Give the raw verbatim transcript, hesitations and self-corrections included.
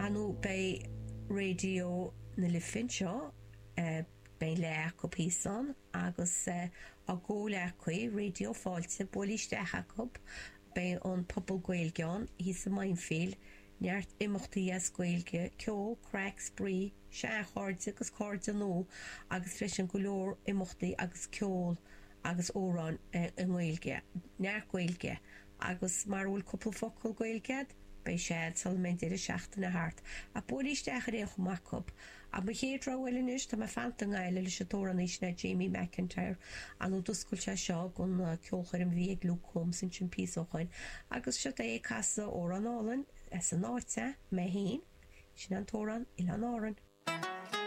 Ar ndóigh beidh Raidió na Life anseo, beidh leath acu thíos ann agus a gcomhghleacaí Raidió Fáilte, buail isteach acu, beidh an Puball Gaeilge ann thíos i Mindfield, neart imeachtaí as Gaeilge, ceol, craic, spraoi, seanchairde agus cairde nua agus freisin go leor imeachtaí agus ceol agus amhráin i nGaeilge, neart Gaeilge agus mara bhfuil cúpla focal Gaeilge agat, beidh sé agat sula mbeidh an deireadh seachtaine thart. Ach buail isteach ar aon chuma acu. Ach mo chéad rogha eile anois, tá mé fanta i nGaillimh leis an t-amhránaí sin é Jamie McIntyre, ar ndóigh d'oscail sé seo don ceolchoirm a bhí ag Luke Combs ansin píosa ó shoin agus seo é ag casadh amhrán álainn as an áit é, mé féin, sin an t-amhrán Oileán Árann.